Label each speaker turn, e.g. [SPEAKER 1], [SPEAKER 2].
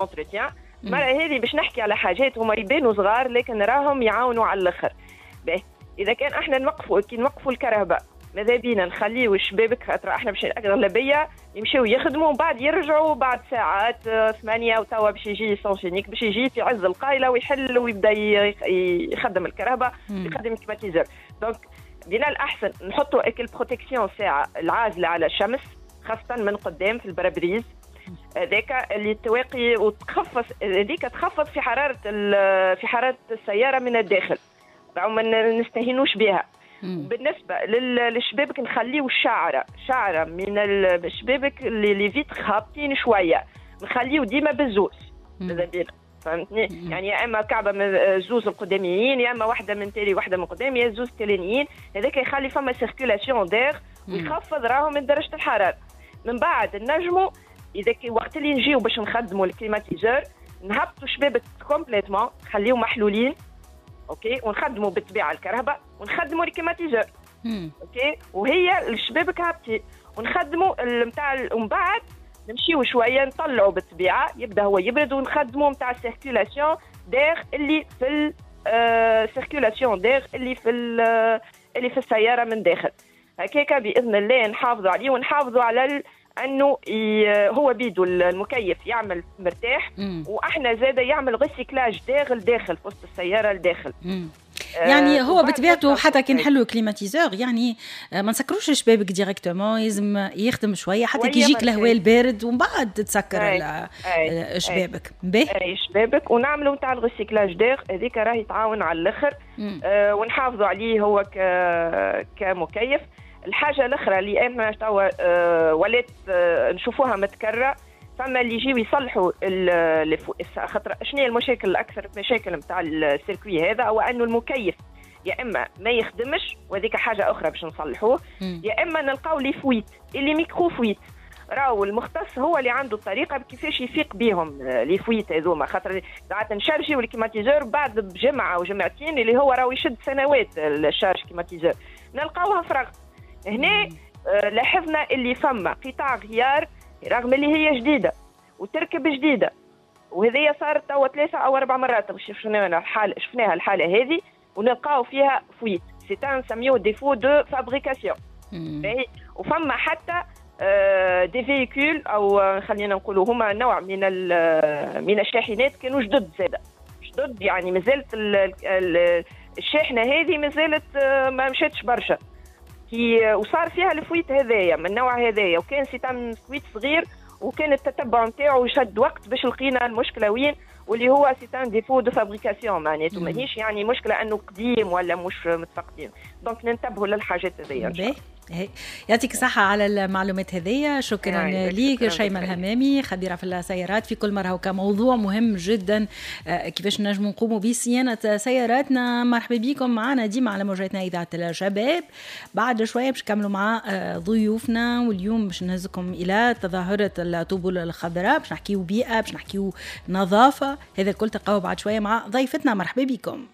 [SPEAKER 1] entretien. المرة هذه باش نحكي على حاجات هما يبانوا صغار لكن راهم يعاونوا على الاخر. باهي، اذا كان احنا نوقفوا، كي نوقفوا الكرهبة ماذا بينا نخليو الشبابك، خاطر احنا باش الاغلبية يمشيو يخدموا ومن بعد يرجعوا بعد ساعات 8، وتوا باش يجي sens unique، باش يجي في عز القايله ويحل ويبدا يخدم الكرهبة، يخدم ال climatiseur. donc من الاحسن نحطوا اك ال protection ساعة العازله على الشمس، خاصة من قدام في ال pare-brise هذاك اللي تواقي وتخفض، هذيك تخفض في حرارة السيارة من الداخل، راهو ما نستهينوش بها. بالنسبة للشبابك نخليو شعره شعره من الشبابك اللي les vitres هابطين شويه، نخليو ديما بالزوز ماذا بينا، فهمتني؟ يعني يا اما كعبه من زوز القداميين، يا اما واحدة من تالي واحدة من قدام، يا زوز تاليين. هذاك يخلي فما circulation d'air ويخفض راهو من درجه الحراره. من بعد نجموا اذا كي وقت اللي نجيو باش نخدموا ال climatiseur نهبطوا شبابك complètement، خليهم محلولين، OK، ونخدموا بالطبيعة الكرهبة ونخدموا ال climatiseur، OK، وهي الشبابك هابطين ونخدموا نتاع، ومن بعد نمشيو شوية نطلعوا بالطبيعة يبدا هو يبرد ونخدموا نتاع ال circulation d'air اللي في ال circulation d'air اللي في السيارة من داخل. هكاك باذن الله نحافظوا عليه ونحافظوا على انه هو بيدو المكيف يعمل مرتاح، واحنا زاده يعمل recyclage d'air داخل في وسط السيارة الداخل.
[SPEAKER 2] يعني هو بطبيعته حتى كي نحلوا climatiseur يعني ما نسكروش الشبابك directement، لازم يخدم شوية حتى كي يجيك الهواء البارد ومن بعد تسكر شبابك.
[SPEAKER 1] باهي، اي شبابك ونعملوا نتاع ال recyclage d'air هذيك راهي تعاون على الاخر ونحافظوا عليه هو كمكيف. الحاجة الاخرى اللي انا توا ولات نشوفوها متكرره، فما اللي يجيو يصلحوا، خاطر شنو هي المشاكل الاكثر مشاكل نتاع ال circuit هذا؟ هو انه المكيف يا اما ما يخدمش، وهذيك حاجة اخرى باش نصلحوه، يا اما نلقاو les fuites، les micro-fuites. راهو المختص هو اللي عنده الطريقة كيفاش يفيق بهم les fuites هذوما، خاطر ساعات نشارجيو ال climatiseur بعد بجمعه وجمعتين، اللي هو راهو يشد سنوات ال charge climatiseur، نلقاوها فرغت. هنا لاحظنا اللي فما قطع غيار رغم اللي هي جديدة وتركب جديده، وهذه صارت توا 3 او 4 مرات شفناها الحالة هذه، ونلقاو فيها fuite، c'est un نسميوه défaut de fabrication. وفما حتى des véhicules او خلينا نقولوا هما نوع من الشاحنات كانوا جدد زاده، جدد يعني مازالت الشاحنة هذه مازالت ما مشاتش برشا كي وصار فيها ال fuite هذايا من النوع هذايا، وكان c'est un fuite صغير وكان التتبع نتاعو يشد وقت باش لقينا المشكلة وين، واللي هو c'est un défaut de fabrication، معناته ماهيش يعني مشكلة انه قديم ولا مش متفقدين. donc ننتبهوا للحاجات هذيا.
[SPEAKER 2] يعطيك الصحة على المعلومات هذية، شكرا ليك شيماء الهمامي، خبيرة في السيارات. في كل مرة كموضوع مهم جدا كيفاش نجم نقوموا بصيانة سياراتنا. مرحبا بكم معنا ديما على موجاتنا إذاعة الشباب. بعد شوية باش نكملوا مع ضيوفنا، واليوم باش نهزكم إلى تظاهرة الطبول الخضراء، باش نحكيو بيئة، باش نحكيو نظافة، هذا الكل تلقاوه بعد شوية مع ضيفتنا. مرحبا بكم.